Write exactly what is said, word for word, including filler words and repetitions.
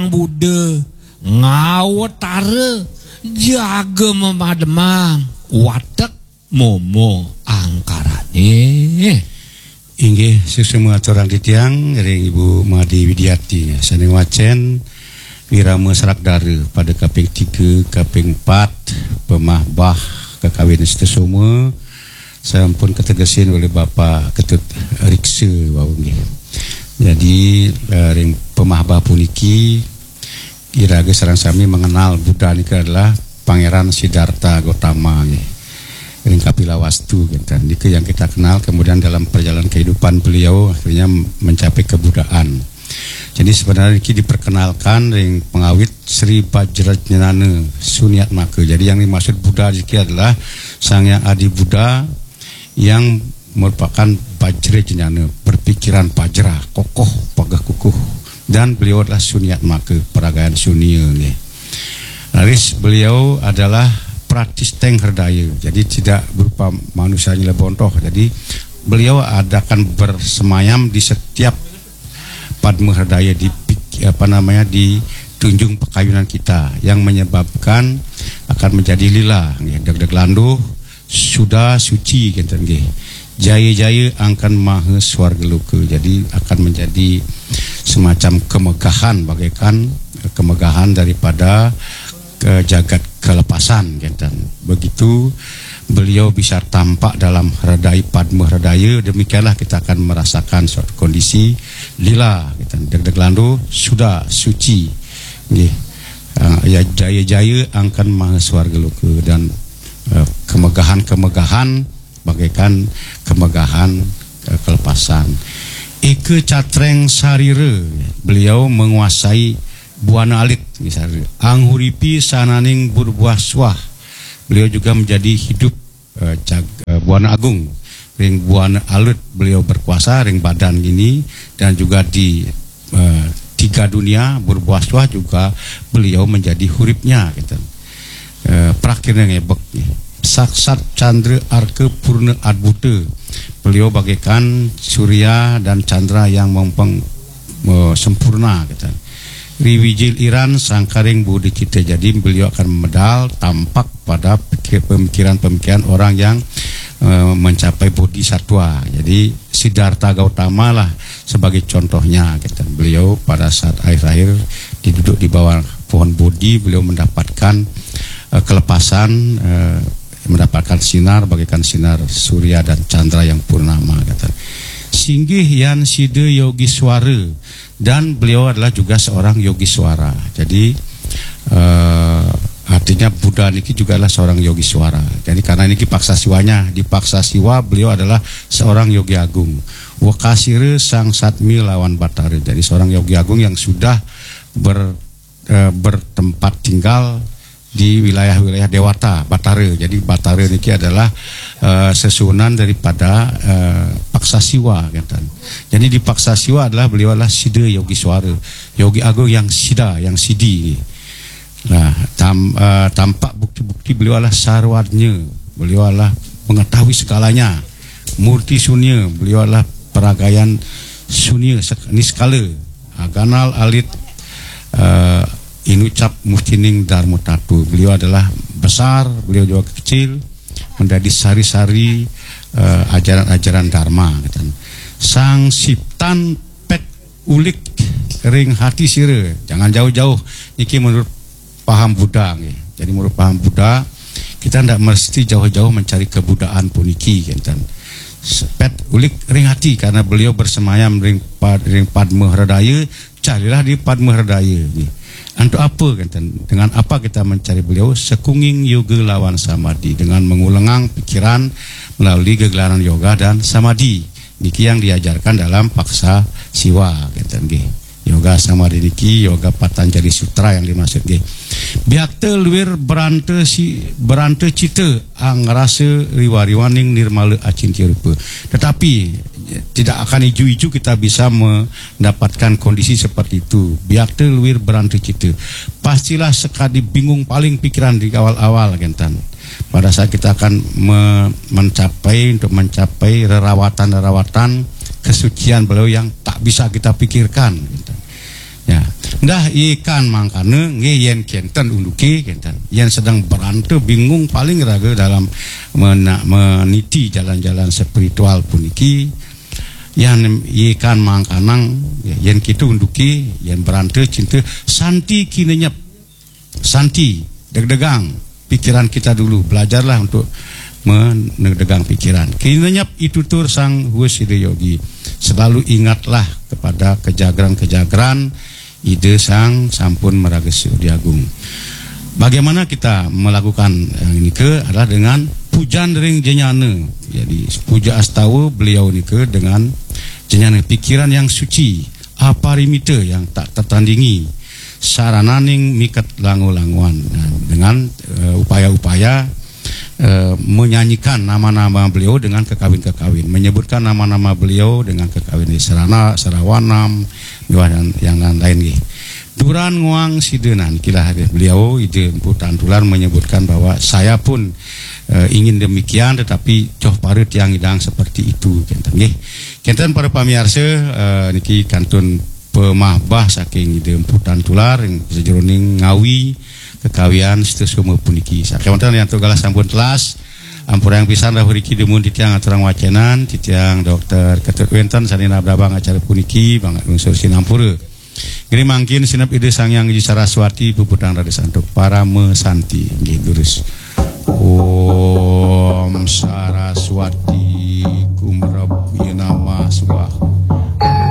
Buddha ngawatara jaga mamademang watek momo angkarane. Inggih, suksma aturang titiang ring Ibu Made Widiati. Sane wacen wirama sragdara pada kaping tiga, kaping empat, pamahbah kakawin Sesoma sampun kategesin olih Bapak Ketut Riksa wau nggih. Jadi, eh, ring pamahbah puniki iraga sareng sami mengenal Buddha nika adalah Pangeran Siddhartha Gautama nggih. Ring Kapilawastu gitu. Nika yang kita kenal, kemudian dalam perjalanan kehidupan beliau akhirnya mencapai kebuddhaan. Jadi sebenarnya niki diperkenalkan ring pengawit Sri Bajrajnana Suniatmaka. Jadi yang dimaksud Buddha niki adalah Sang Yang Adi Buddha yang merupakan Bajrajnana, berpikiran bajra, kokoh, pageh kukuh. Dan beliau adalah Suniatmaka, peragayan sunia nggih. Raris beliau adalah pratisteng herdaya, jadi tidak berupa manusia nyelebontoh. Jadi beliau ada akan bersemayam di setiap padma herdaya di pik-, apa namanya, di tunjung pakayunan kita yang menyebabkan akan menjadi lila nggih, degdeg landuh, suda, suci kenten nggih. Jaya-jaya angkan maha swarga loka. Jadi akan menjadi semacam kemegahan bagaikan kemegahan daripada ke jagat kelepasan kenten. Begitu beliau bisa tampak dalam herdaya, padma herdaya, demikianlah kita akan merasakan suatu kondisi lila kenten, degdeg landuh, suda, suci nggih. Ah, ya, jaya-jaya angkan maha swarga loka dan, eh, kemegahan-kemegahan bagaikan kemegahan, eh, kelepasan. Eka catreng sarira, beliau menguasai buana alit misalnya. Anghuripi sananing burbuah suah, beliau juga menjadi hidup, eh, jag-, eh, buana agung. Ring buana alit beliau berkuasa, ring badan ini, dan juga di, eh, tiga dunia, burbuah suah juga beliau menjadi huripnya gitu. Eh, prakirnya ngebek nggih. Saksat candra arka purna adbuta. Beliau bagaikan surya dan chandra yang mempeng, eh, sempurna gitu. Riwijil iran sangkaring bodhi cita. Jadi beliau akan medal tampak pada pikir, pemikiran-pemikiran orang yang, eh, mencapai bodhi satwa. Jadi Siddhartha Gautama lah sebagai contohnya gitu. Beliau pada saat akhir-akhir diduduk di bawah pohon bodhi, beliau mendapatkan, eh, kelepasan, eh, mendapatkan sinar bagaikan sinar surya dan chandra yang purnama gitu. Singgih yan sida yogiswara, dan beliau adalah juga seorang yogiswara. Jadi, eh, artinya Buddha niki juga adalah seorang yogiswara. Jadi karena niki paksa siwanya, di paksa siwa beliau adalah seorang yogi agung. Wekasira sang satmi lawan batara. Jadi seorang yogi agung yang sudah ber-, eh, bertempat tinggal di wilayah-wilayah dewata, batara. Jadi batara niki adalah, eh, sesuhunan daripada, eh, paksa siwa gitu. Jadi di paksa siwa adalah beliau adalah sida yogiswara, yogi agung yang sida, yang sidi. Nah, tam-, eh, tampak bukti-bukti beliau adalah sarwajna, beliau adalah mengetahui segalanya. Murti sunya, beliau adalah peragayan sunya sek-, niskala. Ah, ganal alit, eh, inucap mustining dharma tatu. Beliau adalah besar, beliau juga kecil, menjadi sari-sari, eh, ajaran-ajaran dharma gitu. Sang siptan pet ulik ring hati sira. Jangan jauh-jauh. Niki menurut paham Buddha nggih. Jadi menurut paham Buddha, kita ndak mesti jauh-jauh mencari kebudaan puniki kenten. Sepet ulik ring hati karena beliau bersemayam ring pad-, ring Padma Hredaya, carilah di Padma Hredaya nggih. Antuk apa kenten? Dengan apa kita mencari beliau? Sekunging yoga lawan samadhi, dengan mengulengang pikiran melalui gegelaran yoga dan samadhi. Niki yang diajarkan dalam paksa siwa kenten nggih. Yoga samadhi niki, yoga Patanjali Sutra yang dimaksud nggih. Biakta luir beranta si, beranta cita, angrasa riwa-riwaning nirmala acintya rupa. Tetapi tidak akan iju-iju kita bisa mendapatkan kondisi seperti itu. Biakta luir beranta cita. Pastilah sekadi bingung paling pikiran di awal-awal kenten. Pada saat kita akan me-, mencapai, untuk mencapai rerawatan-rerawatan kesucian beliau yang tak bisa kita pikirkan gitu. Ya, Dah ikan mangkana nggih, yen kenten unduke kenten. Yen sedang beranta bingung paling raga dalam mena, meniti jalan-jalan spiritual puniki, yen ikan mangkanang, yen kita unduke, yen beranta cinta, santi kinenyep. Santi, degdegang pikiran kita dulu. Belajarlah untuk menegdegang pikiran. Kinenyep itutur sang Husida Yogi. Selalu ingatlah kepada kejagran-kejagran Ida Sang Sampun Maraga Sudi Agung. Bagaimana kita melakukan yang ini ke adalah dengan pujan ring jenyana. Jadi puja astawa beliau nika dengan jenyana pikiran yang suci, aparimita yang tak tertandingi, sarananing miket lango-langoan. Nah, dengan uh, upaya-upaya uh, menyanyikan nama-nama beliau dengan kekawin-kekawin, menyebutkan nama-nama beliau dengan kekawin di Serana, Serawanam, yang lain-lain nggih. Duran nguang sida, nah, nikilah beliau Ida Empu Tantular menyebutkan bahwa saya pun uh, ingin demikian, tetapi coh para tiang idang seperti itu, kenten nggih. Kenten para pamiarsa, uh, niki kantun pamahbah saking Ida Empu Tantular ing sajeroning ngawi kekawian Sita Soma puniki. Sakewanten yen antuk galah sampun telas, ampurayang pisan rawuh riki dumun titiang aturang wacenan, titiang Dokter Ketut wenten sane nabdabang acara puniki, banget lungsur sinampura. Nggih mangkin sineb Ida Sang Hyang Widi Saraswati puputang raga santuk parama santi. Nggih durus. Om Saraswati Kumrab Yenamah Swaha.